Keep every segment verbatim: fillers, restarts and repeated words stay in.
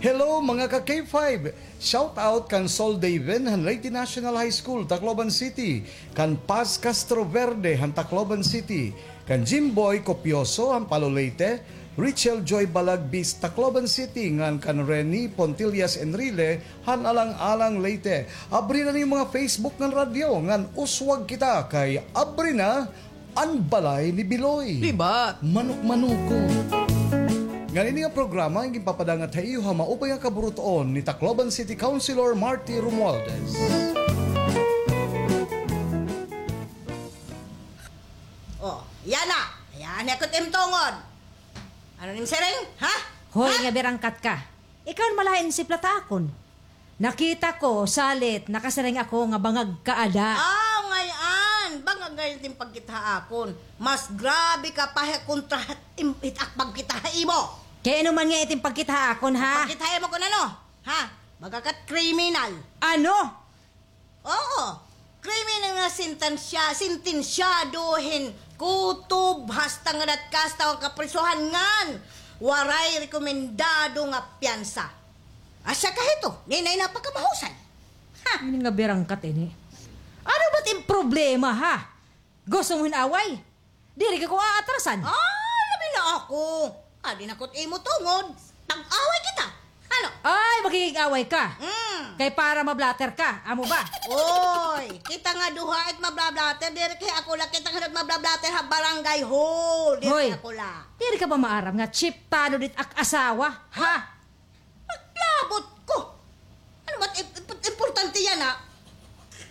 Hello, mga ka K five! Shout out kan Sol Daven han Leyte National High School, Tacloban City, kan Paz Castro Verde han Tacloban City, kan Jimboy Copioso han Palo Leyte, Richel Joy Balagbis, Tacloban City, ngan kan Reni Pontillas Enrile han Alang-Alang, Leyte. Abri na an iyo mga Facebook ngan radyo ngan uswag kita kay abri na an balay ni Biloy. Di ba? Manok-manoko. Ngan ini nga programa an ginpapadangat ha iyo ha maupay nga kaburut-on ni Tacloban City Councilor Marty Romualdez. Oh, yana. Yana ko it im tungod. Ano it im siring? Ha? Hoy, ha? Nga birangkat ka. Ikaw an malain siplat ha akon. Nakita ko, salit, nakasiring ako nga bangag ka ada. Ah, ngay-an. Bangag ngay-an it im pagkita ha akon. Mas grabe ka pa ha kontra ha im-, it ak pagkita ha imo. Kay ano man ngay-an it im pagkita ha akon, ha? Pagkita ha imo kon ano? Ha? Baga ka it kriminal. Ano? Oo. Kriminal nga sentensya, sentensyado hin kutob hasta ngada it kasta nga kaprisohan ngan waray rekomendado nga piyansa. Asya ka hito, nganhi napakamahusan. Ha? Ini nga birangkat ini. Ano ba it im problema, ha? Gusto mo hin away? Diri ka ko aatrasan. Ah, labi na ako. Adi na ko it imo tungod. Pag-away kita. Ano? Ay, makikig-away ka. Mm. Kay para mablatter ka. Amo ba? Oy, kita nga duha it mablatter. Diri kay ako la, kita nga mablatter ha barangay hall. Diri ako la. Diri ka ba maaram nga chief tano dit ak asawa? Ha? Paglabot ko. Ano ba, im-, im-, importante yana, ha?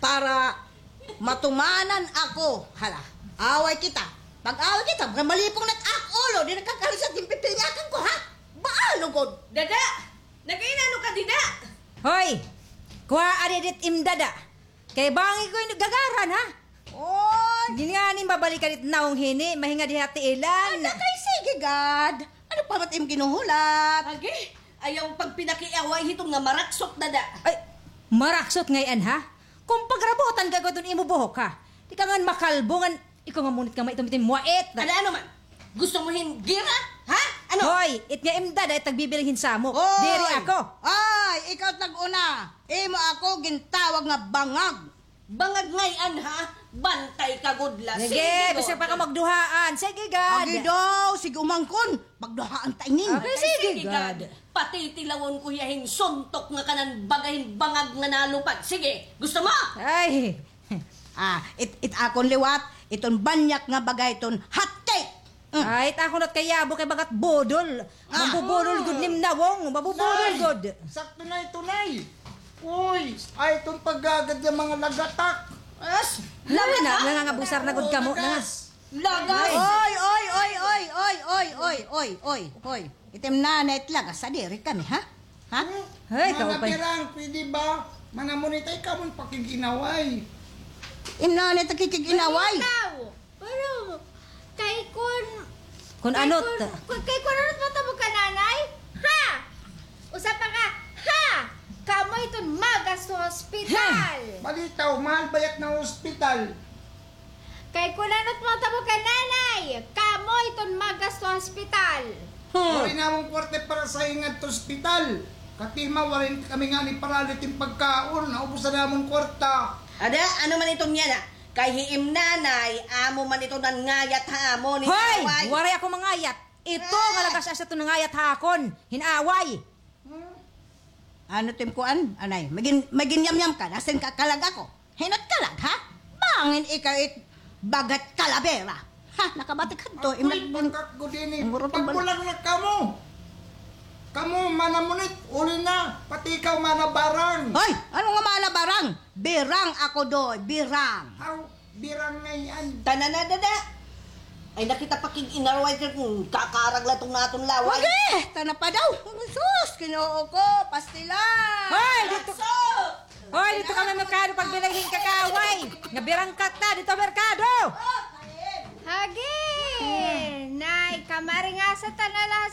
Para matumanan ako. Hala, away kita. Pag-away kita, malipong na it ak ulo, di nakakarisat it im pipinyakan ko, ha? Baalo gud. Dada! Nag-inano ka dida? Hoy! Kuhaa didi it im dada. Kay bangin ko ini gagaran, ha? Oy! Ngani mabalikan it nawong hini, mahingad ha tiilan. Ada kay sige gad. Ano pa man it im ginhuhulat? Agi, ayaw pagpinakiaway hiton nga maraksot, dada. Ay, maraksot ngay-an, ha? Kon pagrabutan ka ko iton imo buhok, ha? Di ka ngan makalbo ngan ikaw nga munit ka maitom-itom, muwait. Ano, ano man? Gusto mo hin gira? Ha? Ano? Hoy, it nga im dada it nagbibiling hin samok. Oy! Diri ako. Ay, ikaw it nag-una. Imo ako gintawag nga bangag. Bangag ngay-an, ha? Bantay ka gud la. Sige, sige, basta pa ka magduhaan. Sige gad. Agi daw, sige umangkon. Magduhaan ta inin. Okay, sige gad. Patitilawon ko hiya hin suntok nga kanan baga hin bangag nga nalupad. Sige, gusto mo? Ay. Ah, it, it akon liwat, iton banyak nga baga iton hot cake. Mm. Ay, it akon liwat kay yabo kay baga it budol. Ah. Mabubudol gud nim nawong, mabubudol gud. Sakto na ito, Nay. Uy, ay, iton paggagad nga mga lagatak. As, lagas na, nangangabusar na gud kamo, lagas. Lagas. Oy, oy, oy. It im nanay it lagas, diri kami, ha? Ha? Hey, mga kaupay. Birang, pwede ba? Manamunit, ay kamo pakig-inaway. Im nanay it nakikig-inaway. Pero, kay kun, kun ano, kay kun ano it mahitabo kan nanay? Ha? Usa pa ka, ha? Kamo iton magasto ha ospital. Balitaw, mahal bayat na ospital. Kay kun ano it mahitabo kan nanay? Kamo iton magasto ha ospital. Waray namon kwarta para sa ngadto ospital. Katima, waray kami ngani para didi pagkaon. Naubos na namon kwarta. Ada, ano man iton yana? Kay hi im nanay, amo man ito nangayat ha amon hin away. Hoy! Waray ako mangayat. Ito nga lagas asya ito nangayat ha akon hin away. Ano it im kuan, anay? Magin-, maginyamyam ka, nasin ka kalag ako. Hin-o it kalag, ha? Bangin ikaw it baga it kalabera. Ha, nakabati ka to, ako'y bangkak gud ini. Pagbulag na kamo. Kamo, manamunit, uli na. Pati ikaw, manabarang. Hoy, ano nga manabarang? Birang ako, doy, birang. Aw, birang ngay-an. Tana na, dada. Ay, nakita pakig-inaway ka, kakarag la iton aton laway. Wagi! Tana pa daw. Sus, Ginoo ko, pastilan. Hoy, dito. Hoy, dito ka man merkado pagbilay hin kakaway. Nga birangkat na, dito merkado. Hagi! Nay, kamaringasa ta na la sa